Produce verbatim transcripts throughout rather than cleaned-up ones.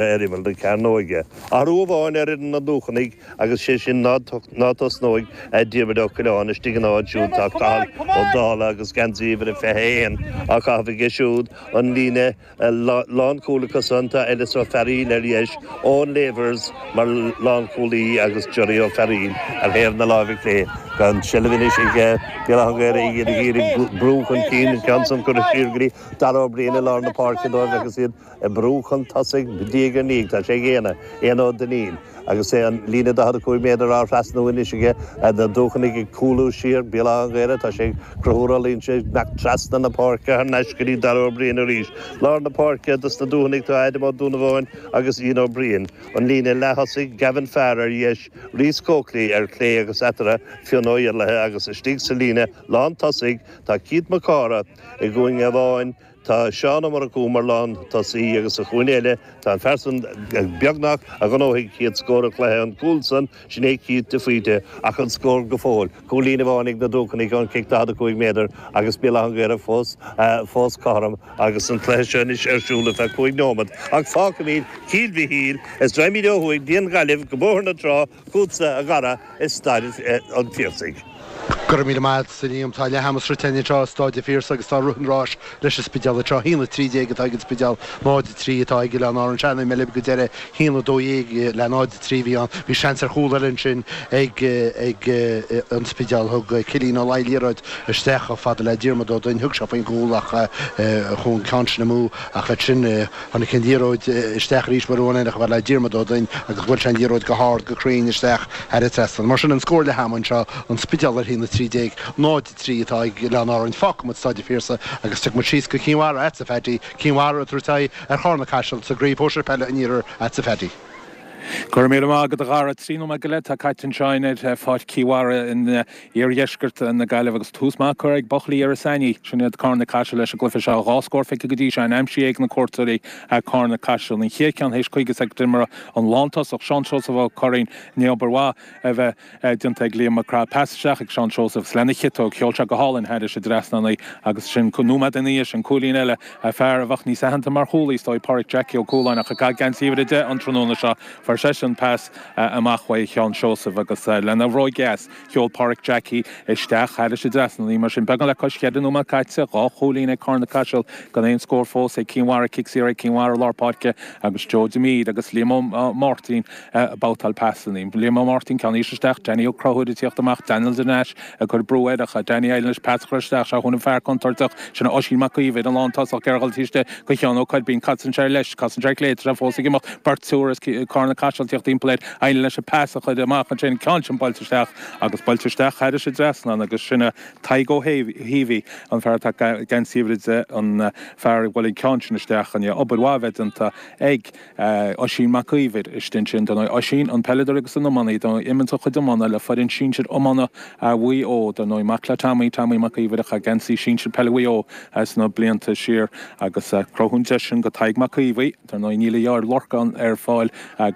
Ar imeall na cearnóige. Athrú amháin ar fhoireann na nDúchanaigh agus sé sin ná tosnóidh Diarmuid Ó Coileáin istigh ina áit siúd tá Cathal Ó Dálaigh agus geansaí uimhir a fiche a haon á chaitheamh aige siúd, an líne lánchúil acusan tá Ellis Ó Fearaíl ar dheis, Eoin Lavers mar lánchúlaí agus Johnny Ó Fearaíl ar thaobh na láimhe clé. Tá an tseilbh anois ag Béal Átha an Ghaorthaidh, iad ag iarraidh brú chun cinn, an ceann san curtha siar go dtí Dara Ó Briain i lár na páirce dóibh agus iad ag brú chun tosaigh diaidh ar ndiaidh. Tá sé ag Éanna, Éanna Ó Duinnín, agus é an líne daichead a cúig méadar á thrasnú anois aige, na Dúchanaigh ag cúlú siar, Béal Átha an Ghaorthaidh, tá sé ag cruthú rollaí ansin, ag imeacht trasna na páirce thar n-ais go dtí Dara Ó Briain arís. Lár na páirce dos na Dúchanaigh tá Adam Ó Dúnabháin agus Ian Ó Briain. An líne leath-thosaigh, Gavin Farr ar dheis, Rhys Coakley ar chlé agus eatarthu Fionn Ó Iarlaithe agus istigh sa líne lán-tosaigh tá Keith Mac Cártha i gcúinne amháin, Tá Seán Ó Murchú mar lántosaí agus sa chúinne eile tá an fear san beagnach a ghnóthaigh chéad scór an chluiche, an cúl san, sin é Keith de Faoite, ach an scór go fóill, cúilín amháin ag na Dúchanaigh ón cic daichead a cúig méadar agus Béal Átha an Ghaorthaidh fós fós cothrom agus an cluiche seo anois ar siúl ar feadh cúig nóiméad. Ach fágfaimid Cill Mhichíl is raghaimid ó thuaidh go dtí an Ghaillimh go Bóthar na Trá chugatsa a Dhara i Staid an Phiarsaigh. Go raibh míle maith agat, a Liam. Tá leath ama sroichte againn anseo i Stáid an Phiarsaigh agus tá rith an ráis leis an Spidéal anseo. A haon a trí déag atá ag an Spidéal, náid a trí atá ag Oileáin Árann. Sea, mé libh go deireadh, a haon a dó dhéag le náid a trí a bhí ann. Bhí seans ar chúl eile ansin ag ag an Spidéal. Thug Cillian Ó Laoi liathróid isteach chomh fada le Diarmuid Ó Duinn. Thug sé faoin gcúl ach chuaigh an ceann sin amú. Ach ansin tháinig an liathróid isteach arís uair amháin eile chomh fada le Diarmuid Ó Duinn agus bhuail sé an liathróid go hard go cruinn isteach thar an trasnán. Mar sin an scór leath ama anseo, An Spidéal ar a haon a trí déag, náid a trí atá ag Oileáin Árann. Fágfaidh muid Stáid an Phiarsaigh agus tiocfaidh muid síos go Cinn Mhara agatsa, a Phaddy. Cinn Mhara ag tabhairt aghaidh ar Chárna Caiseal sa gcraobh shóisir peile an Iarthair agatsa, a Phaddy. Go raibh míle maith agat a Dhara. Trí nóiméad go leith atá caite anseo ar Pháirc Chill Mhara in iardheisceart na Gaillimhe agus tús maith curtha ag buachaillí Iorras Aithnigh. Sin iad Cárna Caiseal leis an gcluiche seo. Dhá scór feicthe go dtí seo aimsithe ag na cuairteoirí Cárna Caiseal. An chéad cheann théis caoga soicind d'imeartha an lántosach Seán Seosamh Ó Curraoin i ndiaidh obair mhaith a bheith déanta ag Liam Mac Craith. Pas isteach ag Seán Seosamh 's lena chiotóg, sheol sé go hálainn thairis an dtrasnán í agus sin nóiméad ina dhiaidh sin cúilín eile, fear a bheadh níos aitheanta mar chúlaí is dóigh, Páraic Jackie Ó Cualáin ach ag caitheamh geansaí uimhir a deich an tráthnóna seo. Fuair seisean pas amach uaidh Sheán Seosamh agus lena bhróig dheas sheol Páraic Jackie isteach thairis an dtrasnán í. Mar sin, beagán le cois cheithre nóiméad caite, dhá chúilín ag Cárna Caiseal gan aon scór fós ag Cinn Mhara, cic saor ag Cinn Mhara i lár páirce agus Joe Demede agus Liam Ó Máirtín ag babhtáil pasanna. Liam Ó Máirtín, ceann íseal isteach, Danny Ó Conchúir ag tíocht amach, Daniel Nash ag cur brú air ach Danny éiríonn leis pas a chur isteach, seo chugainn an fear contúirteach sin Oisín Mac Íomhair, an lántosach ar dhul taobh istigh go Sheán Ó Coirbín, casann sé ar dheis, casann sé ar clé, tá sé fós ag imeacht, beirt triúr as Cárna Caiseal ag tíocht timpeall air, éiríonn leis an pas a chur amach ansin, ceann sin buailte isteach agus buailte isteach thairis an dtrasnán agus sin é Tadhg Ó hÉimhí, an fear atá ag geansaí uimhir a deich, an fear a bhuail an ceann sin isteach, i ndiaidh obair mhaith a bheith déanta ag. Oisín Mac Íomhair istigh ansin. Dar ndóigh, Oisín, an peileadóir agus an iománaí, dar ndóigh, imíonn a chuid iomána le foireann sinsir iomána Mhaigh Eo, dar ndóigh, mac le Tommy, Tommy Mac Íomhair a chaith geansaí sinsir peile Mhaigh Eo sna blianta siar agus cruthú an deis sin go Tadhg Mac Íomhair. Dar ndóigh, níl a dheartháir Lorcán ar fáil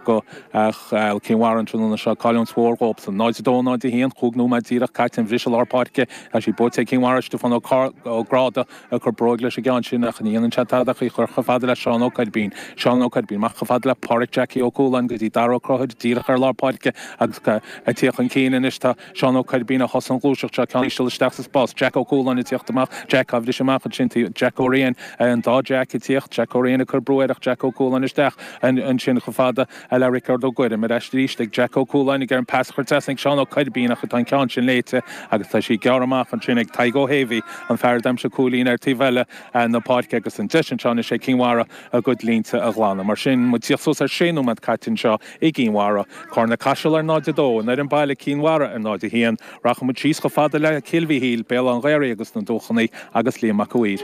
go Cinn Mhara an tráthnóna seo, cailliúint mhór dhóibhsan. náid a dó, náid a haon, cúig nóiméad díreach caite, an bhriseadh lár páirce, tá sí buaite ag Cinn Mhara, Stiofán Ó Gráda ag cur bróig leis an gceann sin ach ní dhéanann sé tada ach í chur chomh fada le Seán Ó Coirbín. Seán Ó Coirbín amach chomh fada le Páraic Jackie Ó Cualáin go dtí Dara Ó Conchúir díreach ar lár páirce agus ag tíocht chun cinn anois tá Seán Ó Coirbín a thosaigh an ghluaiseacht seo, ceann íseal isteach sa spás, Jack Ó Cualáin ag tíocht amach, Jack á bhriseadh amach ansin, Jack Ó Riain, an dá Jack ag tíocht, Jack Ó Riain ag cur brú air ach Jack Ó Cualáin isteach ansin chomh fada le Riocard Ó Guairim. Ar ais arís ag Jack Ó Cualáin ag iarraidh an pas a chur trasna ag Seán Ó Coirbín ach tá an ceann sin léite agus tá sí gearrtha amach ansin ag Tadhg Ó hÉimhí, an fear a d'aimsigh cúilín ar taobh eile na páirce agus an deis anseo anois ag Cinn Mhara a gcuid línte a ghlanadh. Mar sin, muid ag tíocht suas ar sé nóiméad caite anseo i gCinn Mhara. Cárna Caiseal ar náid a dó, an fhoireann baile Cinn Mhara ar náid a haon. Rachaidh muid síos chomh fada le Cill Mhichíl, Béal Átha an Ghaorthaidh agus na Dúchanaigh agus Liam Mac a' Mhaoir.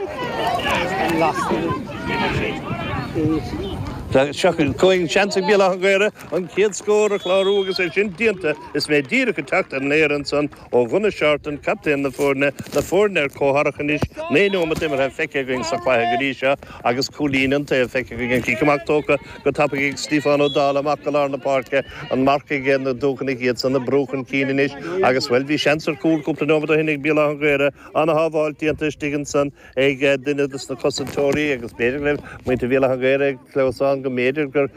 Seo chugainn seans ag Béal Átha an Ghaorthaidh an chéad scór a chlárú agus é sin déanta is mé díreach ag teacht ar an aer ansan ó Ghunna Shorten, captaen na foirne, na foirne ar comhtharrac anois, naoi nóiméad imeartha feicthe againn sa chluiche go dtí seo agus cúilín an taobh feicthe againn. An cic amach tógtha go tapaidh ag Stiofán Ó Dálaigh amach go lár na páirce, an marc ag na Dúchanaigh iad san ag brú chun cinn anois agus, bhuel, bhí seans ar chúl cúpla nóiméad ó shin ag Béal Átha an Ghaorthaidh, ana-shábháilt déanta istigh ansan ag duine dos na cosantóirí agus b'fhéidir go raibh muintir Bhéal Átha an Ghaorthaidh ag clamhsán ann go mb'fhéidir gur